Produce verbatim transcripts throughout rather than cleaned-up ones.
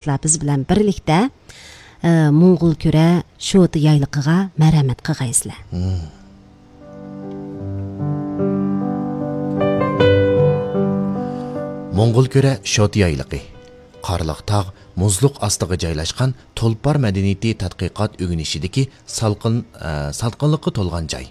سىلەر بىز بىلەن بىرلىكتە، ئە، موڭغۇلكۈرە شوتا يايلىقىغا مەرھەمەت قىلغايسىلەر. موڭغۇلكۈرە شوتا يايلىقى. قارلىق تاغ، مۇزلۇق ئاستىغا جايلاشقان تۇلپار مەدەنىيىتى تەتقىقات ئۆگىنىشىدىكى سالقىن، ئە، سالقىنلىققا تولغان جاي.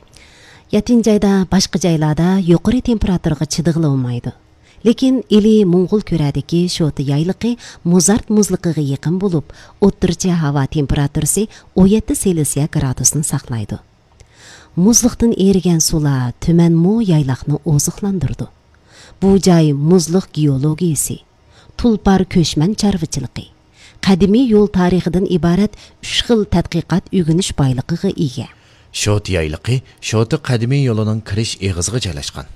يەتتىنچى ئايدا باشقا جايلاردا يۇقىرى تېمپېراتۇرىغا چىدىغىلى بولمايدۇ. لېكىن ئىلى موڭغۇلكۈرەدىكى شوتا يايلىقى مۇزارت مۇزلۇقىغا يېقىن بولۇپ، ئوتتۇرىچە ھاۋا تېمپېراتۇرىسى ئون يەتتە سېلسىيە گرادۇسنى ساقلايدۇ. مۇزلۇقتىن ئېرىگەن سۇلار تۈمەنمۇ يايلاقنى ئوزۇقلاندۇرىدۇ. بۇ جاي مۇزلۇق گېئولوگىيىسى، تۇلپار كۆچمەن چارۋىچىلىقى، قەدىمىي يول تارىخىدىن ئىبارەت ئۈچ خىل تەتقىقات ئۆگىنىش بايلىقىغا ئىگە. شوتا يايلىقى شوتا قەدىمىي يولىنىڭ كىرىش ئېغىزىغا جايلاشقان.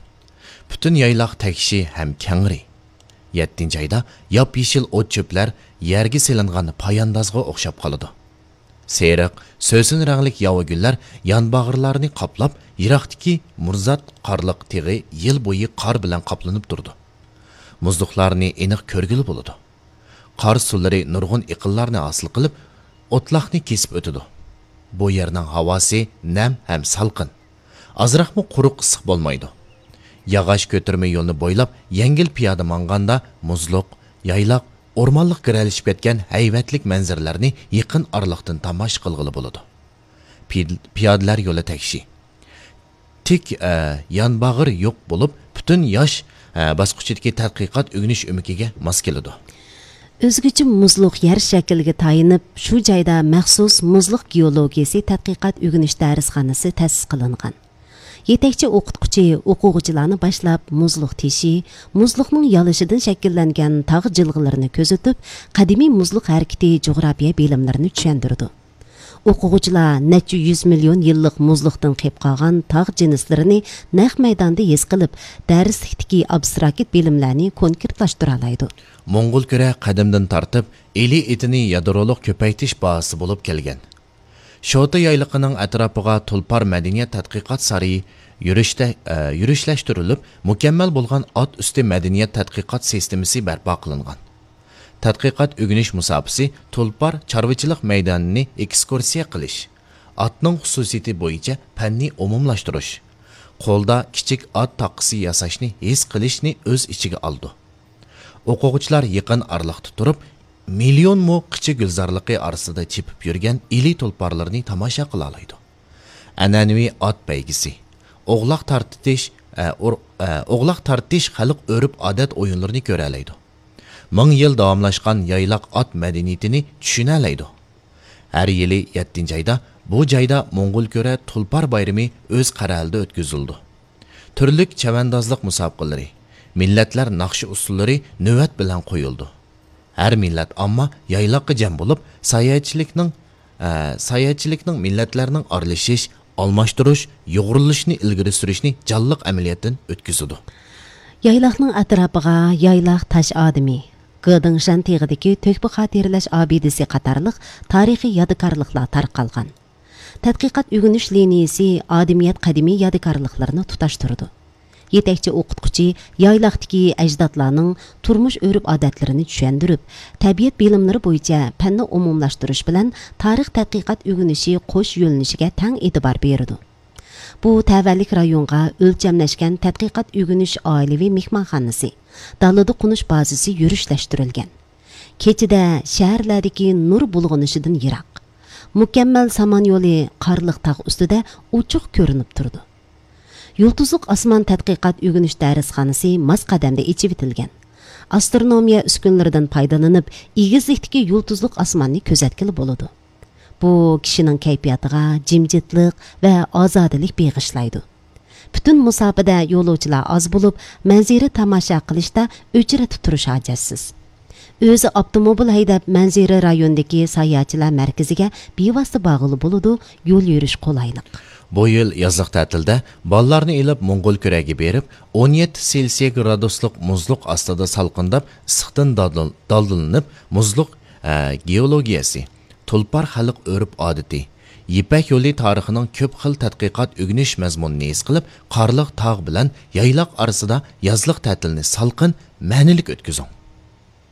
پۈتۈن يايلاق تەكشى ھەم كەڭرى. يەتتىنچى ئايدا ياپيېشىل ئوت-چۆپلەر يەرگە سېلىنغان پاياندازغا ئوخشاپ قالىدۇ. سېرىق، سۆسۈن رەڭلىك ياۋا گۈللەر يانباغرىلارنى قاپلاپ، يىراقتىكى مۇرزات قارلىق تېغى يىل بويى قار بىلەن قاپلىنىپ تۇرىدۇ. مۇزلۇقلارنى ئېنىق كۆرگىلى بولىدۇ. قار سۇلىرى نۇرغۇن ئېقىنلارنى ھاسىل قىلىپ، ئوتلاقنى كېسىپ ئۆتىدۇ. بۇ يەرنىڭ ھاۋاسى نەم ھەم سالقىن. ئازراقمۇ قۇرۇق ئىسسىق بولمايدۇ. ياغاچ كۆتۈرمە يولنى بويلاپ يەڭگىل پىيادە ماڭغاندا مۇزلۇق، يايلاق، ئورمانلىق گىرەلىشىپ كەتكەن ھەيۋەتلىك مەنزىرىلەرنى يېقىن ئارىلىقتىن تاماشا قىلغىلى بولىدۇ. پىي-، پىيادىلەر يولى تەكشى. تىك، ئە، يانباغرى يوق بولۇپ، پۈتۈن ياش، ئە، باسقۇچىدىكى تەتقىقات ئۆگىنىش ئۆمىكىگە ماس كېلىدۇ. ئۆزگىچە مۇزلۇق يەر شەكلىگە تايىنىپ، شۇ جايدا مەخسۇس مۇزلۇق گېئولوگىيىسى تەتقىقات ئۆگىنىش دەرسخانىسى تەسىس قىلىنغان. يېتەكچى ئوقۇتقۇچى ئوقۇغۇچىلارنى باشلاپ، مۇزلۇق تېشى، مۇزلۇقنىڭ يالىشىدىن شەكىللەنگەن تاغ جىلغىلىرىنى كۆزىتىپ، قەدىمىي مۇزلۇق ھەرىكىتى جۇغراپىيە بىلىملىرىنى چۈشەندۈرىدۇ. ئوقۇغۇچىلار نەچچە يۈز مىليون يىللىق مۇزلۇقتىن قېلىپ قالغان تاغ جىنسلىرىنى نەق مەيداندا ھېس قىلىپ، دەرسلىكتىكى ئابستراكت بىلىملەرنى كونكرېتلاشتۇرالايدۇ. موڭغۇلكۈرە قەدىمدىن تارتىپ ئىلى ئېتىنى يادرولۇق كۆپەيتىش بازىسى بولۇپ كەلگەن. شوتا يايلىقىنىڭ ئەتراپىغا تۇلپار مەدەنىيەت تەتقىقات سارىيى يۈرۈشتە-، ئە، يۈرۈشلەشتۈرۈلۈپ، مۇكەممەل بولغان ئات ئۈستى مەدەنىيەت تەتقىقات سىستېمىسى بەرپا قىلىنغان. تەتقىقات ئۆگىنىش مۇساپىسى تۇلپار چارۋىچىلىق مەيدانىنى ئېكسكۇرسىيە قىلىش، ئاتنىڭ خۇسۇسىيىتى بويىچە پەننى ئومۇملاشتۇرۇش، قولدا كىچىك ئات تاققىسى ياساشنى ھېس قىلىشنى ئۆز ئىچىگە ئالىدۇ. ئوقۇغۇچىلار يېقىن ئارىلىقتا تۇرۇپ، مىليون مو قىچا گۈلزارلىقى ئارىسىدا چېپىپ يۈرگەن ئىلى تۇلپارلىرىنى تاماشا قىلالايدۇ. ئەنئەنىۋى ئات بەيگىسى، ئوغلاق تارتىتىش، ئە، ئۇر-، ئە، ئوغلاق تارتىش خەلق ئۆرپ-ئادەت ئويۇنلىرىنى كۆرەلەيدۇ. مىڭ يىل داۋاملاشقان يايلاق ئات مەدەنىيىتىنى چۈشىنەلەيدۇ. ھەر يىلى يەتتىنچى ئايدا بۇ جايدا موڭغۇلكۈرە تۇلپار بايرىمى ئۆز قەرەلىدە ئۆتكۈزۈلىدۇ. تۈرلۈك چەۋەندازلىق مۇسابىقىلىرى، مىللەتلەر ناخشا ئۇسسۇللىرى نۆۋەت بىلەن قويۇلىدۇ. ھەر مىللەت ئامما يايلاققا جەم بولۇپ، ساياھەتچىلىكنىڭ، ئە، ساياھەتچىلىكنىڭ مىللەتلەرنىڭ ئارىلىشىش، ئالماشتۇرۇش، يۇغۇرۇلۇشىنى ئىلگىرى سۈرۈشنى جانلىق ئەمەلىيەتتىن ئۆتكۈزىدۇ. يايلاقنىڭ ئەتراپىغا يايلاق تاش ئادىمى، گېدىڭشەن تېغىدىكى تۆھپە خاتىرىلەش ئابىدىسى قاتارلىق تارىخىي يادىكارلىقلار تارقالغان. تەتقىقات ئۆگىنىش لىنىيىسى ئادىمىيەت قەدىمىي يادىكارلىقلىرىنى تۇتاشتۇرىدۇ. يېتەكچى ئوقۇتقۇچى يايلاقتىكى ئەجدادلارنىڭ تۇرمۇش ئۆرپ-ئادەتلىرىنى چۈشەندۈرۈپ، تەبىئەت بىلىملىرى بويىچە پەننى ئومۇملاشتۇرۇش بىلەن تارىخ تەتقىقات ئۆگىنىشى قوش يۆنىلىشىگە تەڭ ئېتىبار بېرىدۇ. بۇ تەۋەلىك رايونغا ئۆلچەملەشكەن تەتقىقات ئۆگىنىش ئائىلىۋى مېھمانخانىسى، دالىدا قونۇش بازىسى يۈرۈشلەشتۈرۈلگەن. كېچىدە شەھەرلەردىكى نۇر بۇلغىنىشىدىن يىراق. مۇكەممەل سامان يولى قارلىق تاغ ئۈستىدە ئوچۇق كۆرۈنۈپ تۇرىدۇ. يۇلتۇزلۇق ئاسمان تەتقىقات ئۆگىنىش دەرسخانىسى ماس قەدەمدە ئېچىۋېتىلگەن. ئاسترونومىيە ئۈسكۈنىلىرىدىن پايدىلىنىپ، ئېگىزلىكتىكى يۇلتۇزلۇق ئاسماننى كۆزەتكىلى بولىدۇ. بۇ كىشىنىڭ كەيپىياتىغا جىمجىتلىق ۋە ئازادىلىك بېغىشلايدۇ. پۈتۈن مۇساپىدە يولۇچىلار ئاز بولۇپ، مەنزىرە تاماشا قىلىشتا ئۆچرەتتە تۇرۇش ھاجەتسىز. ئۆزى ئاپتوموبىل ھەيدەپ، مەنزىرە رايونىدىكى ساياھەتچىلەر مەركىزىگە بىۋاسىتە بارغىلى بولىدۇ، يول يۈرۈش قولايلىق. بۇ يىل يازلىق تەتىلدە بالىلارنى ئېلىپ موڭغۇلكۈرەگە بېرىپ، ئون يەتتە سېلسىيە گرادۇسلۇق مۇزلۇق ئاستىدا سالقىنداپ، ئىسسىقتىن دالدىل-، دالدىلىنىپ، مۇزلۇق، ئە، گېئولوگىيەسى، تۇلپار خەلق ئۆرپ-ئادىتى، يىپەك يولى تارىخىنىڭ كۆپ خىل تەتقىقات ئۆگىنىش مەزمۇنىنى ھېس قىلىپ، قارلىق تاغ بىلەن يايلاق ئارىسىدا يازلىق تەتىلنى سالقىن، مەنىلىك ئۆتكۈزۈڭ.